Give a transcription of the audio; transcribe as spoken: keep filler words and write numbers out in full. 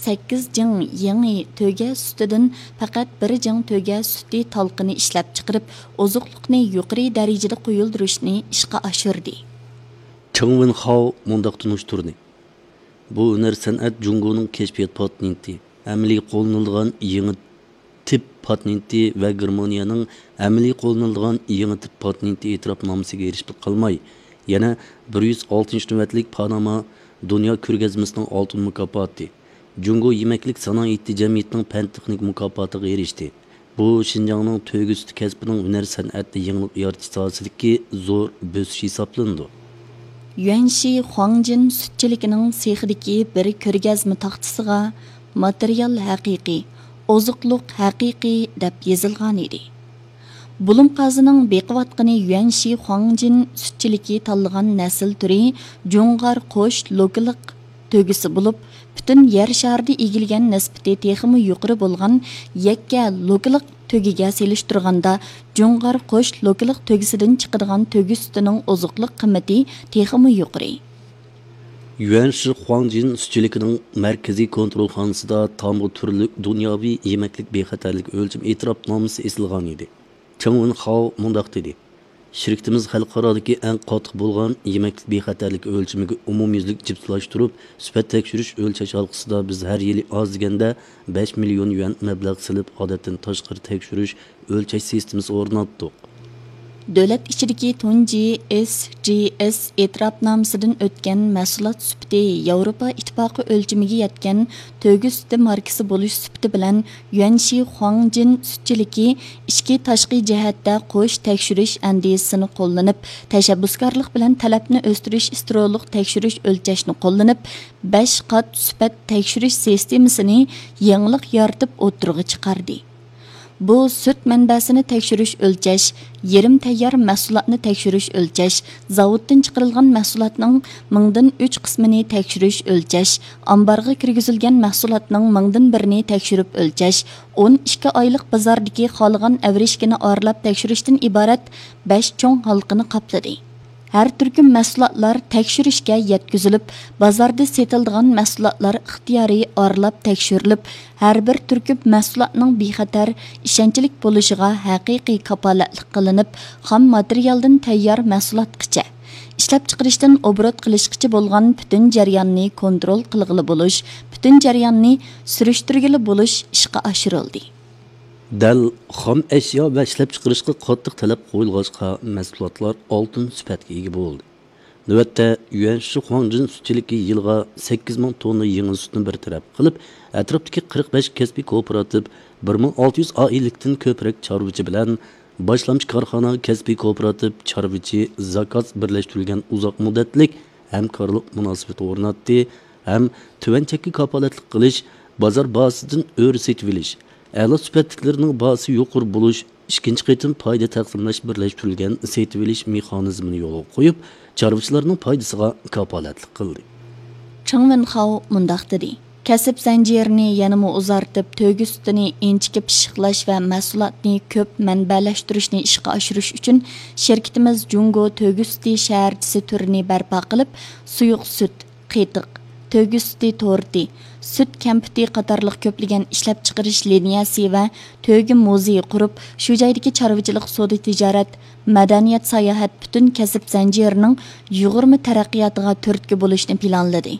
سەككىز جىڭ يېڭى تۆگە سۈتىدىن پەقەت بىر جىڭ تۆگە سۈتى تالقىنى ئىشلەپچىقىرىپ، ئوزۇقلۇقنى يۇقىرى دەرىجىدە قويۇلدۇرۇشنى ئىشقا ئاشۇردى. چېڭ ۋېنخاۋ مۇنداق تونۇشتۇردى: بۇ ھۈنەر سەنئەت جۇڭگونىڭ كەشپىيات پاتېنتى، ئەمەلىي قوللىنىلىدىغان يېڭى تىپ پاتېنتى ۋە گېرمانىيەنىڭ ئەمەلىي قوللىنىلىدىغان يېڭى تىپ پاتېنتى ئېتىراپنامىسىگە ئېرىشىپلا قالماي، يەنە بىر يۈز ئالتىنچى نۆۋەتلىك پاناما دۇنيا كۆرگەزمىسىنىڭ ئالتۇن مۇكاپاتى، جۇڭگو يېمەكلىك سانائىتى جەمئىيىتىنىڭ پەن تېخنىكا مۇكاپاتىغا ئېرىشتى. بۇ شىنجاڭنىڭ تۆگە سۈتى كەسپىنىڭ ھۈنەر سەنئەتتە يېڭىلىق يارىتىش ساھەسىدىكى زور بۆسۈش ھېسابلىنىدۇ. يۈەنشى خۇاڭجىن سۈتچىلىكىنىڭ سېخىدىكى بىر كۆرگەزمە تاختىسىغا ماتېرىيال ھەقىقىي، ئوزۇقلۇق ھەقىقىي دەپ يېزىلغان ئىدى. بۇلۇم قازىنىڭ بېقىۋاتقىنى يۈەنشى خۇاڭجىن سۈتچىلىكى تاللىغان نەسىل تۈرى جۇڭغار قوش لوكىلىق تۆگىسى بولۇپ، پۈتۈن يەر شارىدا ئىگىلىگەن نىسبىتى تېخىمۇ يۇقىرى بولغان يەككە لوكىلىق تۆگىگە سېلىشتۇرغاندا، جۇڭغار قوش لوكىلىق تۆگىسىدىن چىقىدىغان تۆگە سۈتىنىڭ ئوزۇقلۇق قىممىتى تېخىمۇ يۇقىرى. يۈەنشى خۇاڭجىن سۈتچىلىكىنىڭ مەركىزىي كونترولخانىسىدا تامغا تۈرلۈك دۇنياۋى يېمەكلىك بىخەتەرلىك ئۆلچىمى ئېتىراپنامىسى ئېسىلغان ئىدى. چېڭ ۋېنخاۋ مۇنداق دېدى: شىركىتىمىز خەلقئارادىكى ئەڭ قاتتىق بولغان يېمەكلىك بىخەتەرلىكى ئۆلچىمىگە ئومۇميۈزلۈك جىپسىلاشتۇرۇپ، سۈپەت تەكشۈرۈش ئۆلچەش ھالقىسىدا بىز ھەر يىلى ئاز دېگەندە بەش مىليون يۈەن مەبلەغ سېلىپ، ئادەتتىن تاشقىرى تەكشۈرۈش ئۆلچەش سىستېمىسى ئورناتتۇق. دۆلەت ئىچىدىكى تۇنجى ئېس جى ئېس ئېتىراپنامىسىدىن ئۆتكەن مەھسۇلات سۈپىتى ياۋروپا ئىتتىپاقى ئۆلچىمىگە يەتكەن تۆگە سۈتى ماركىسى بولۇش سۈپىتى بىلەن يۈەنشى خۇاڭجىن سۈتچىلىكى ئىچكى تاشقى جەھەتتە قوش تەكشۈرۈش ئەندىزىسىنى قوللىنىپ، تەشەببۇسكارلىق بىلەن تەلەپنى ئۆستۈرۈش ستېرېئولۇق تەكشۈرۈش ئۆلچەشنى قوللىنىپ، بەش قات سۈپەت تەكشۈرۈش سىستېمىسىنى يېڭىلىق يارىتىپ ئوتتۇرىغا چىقاردى. بۇ سۈت مەنبەسىنى تەكشۈرۈش ئۆلچەش، يېرىم تەييار مەھسۇلاتنى تەكشۈرۈش ئۆلچەش، زاۋۇتتىن چىقىرىلغان مەھسۇلاتنىڭ مىڭدىن ئۈچ قىسمىنى تەكشۈرۈش ئۆلچەش، ئامبارغا كىرگۈزۈلگەن مەھسۇلاتنىڭ مىڭدىن بىرىنى تەكشۈرۈپ ئۆلچەش، ئون ئىككى ئايلىق بازاردىكى خالىغان ئەۋرىشكىنى ئارىلاپ تەكشۈرۈشتىن ئىبارەت بەش چوڭ ھالقىنى قاپلىدى. ھەر تۈركۈم مەھسۇلاتلار تەكشۈرۈشكە يەتكۈزۈلۈپ، بازاردا سېتىلىدىغان مەھسۇلاتلار ئىختىيارىي ئارىلاپ تەكشۈرۈلۈپ، ھەر بىر تۈركۈم مەھسۇلاتنىڭ بىخەتەر، ئىشەنچلىك بولۇشىغا ھەقىقىي كاپالەتلىك قىلىنىپ، خام ماتېرىيالدىن تەييار مەھسۇلاتقىچە، ئىشلەپچىقىرىشتىن ئوبوروت قىلىشقىچە بولغان پۈتۈن جەرياننى كونترول قىلغىلى بولۇش، پۈتۈن جەرياننى سۈرۈشتۈرگىلى بولۇش ئىشقا ئاشۇرۇلدى. دەل خام ئەشيا ۋە ئىشلەپچىقىرىشقا قاتتىق تەلەپ قويۇلغاچقا، مەھسۇلاتلار ئالتۇن سۈپەتكە ئىگە بولدى. نۆۋەتتە، يۈەنشى خۇاڭجىن سۈتچىلىكى يىلغا سەككىز مىڭ توننا يېڭىل سۈتنى بىر تەرەپ قىلىپ، ئەتراپتىكى قىرىق بەش كەسپىي كوپىراتىپ، بىر مىڭ ئالتە يۈز ئائىلىلىكتىن كۆپرەك چارۋىچى بىلەن باشلامچى كارخانا، كەسپىي كوپىراتىپ، چارۋىچى، زاكاز بىرلەشتۈرۈلگەن ئۇزاق مۇددەتلىك ھەمكارلىق مۇناسىۋىتى ئورناتتى ھەم تۆۋەن چەككە كاپالەتلىك قىلىش، بازار باھاسىدىن ئۆرە سېتىۋېلىش، ئەلا سۈپەتلىكلىرىنىڭ باھاسى يۇقىرى بولۇش، ئىككىنچى قېتىم پايدا تەقسىملەش بىرلەشتۈرۈلگەن سېتىۋېلىش مېخانىزمىنى يولغا قويۇپ، چارۋىچىلارنىڭ پايدىسىغا كاپالەتلىك قىلدى. چېڭ ۋېنخاۋ مۇنداق دېدى: كەسىپ زەنجىرىنى يەنىمۇ ئۇزارتىپ، تۆگە سۈتىنى ئىنچىكە پىششىقلاش ۋە مەھسۇلاتنى كۆپ مەنبەلەشتۈرۈشنى ئىشقا ئاشۇرۇش ئۈچۈن، شىركىتىمىز جۇڭگو تۆگە سۈتى شەھەرچىسى تۈرىنى بەرپا قىلىپ، سۇيۇق سۈت، قېتىق، تۆگە سۈتى تورتى، سۈت كەمپۈتى قاتارلىق كۆپلىگەن ئىشلەپچىقىرىش لىنىيەسى ۋە تۆگە مۇزېيى قۇرۇپ، شۇ جايدىكى چارۋىچىلىق، سودا تىجارەت، مەدەنىيەت، ساياھەت پۈتۈن كەسىپ زەنجىرىنىڭ يۇغۇرما تەرەققىياتىغا تۈرتكە بولۇشنى پىلانلىدى.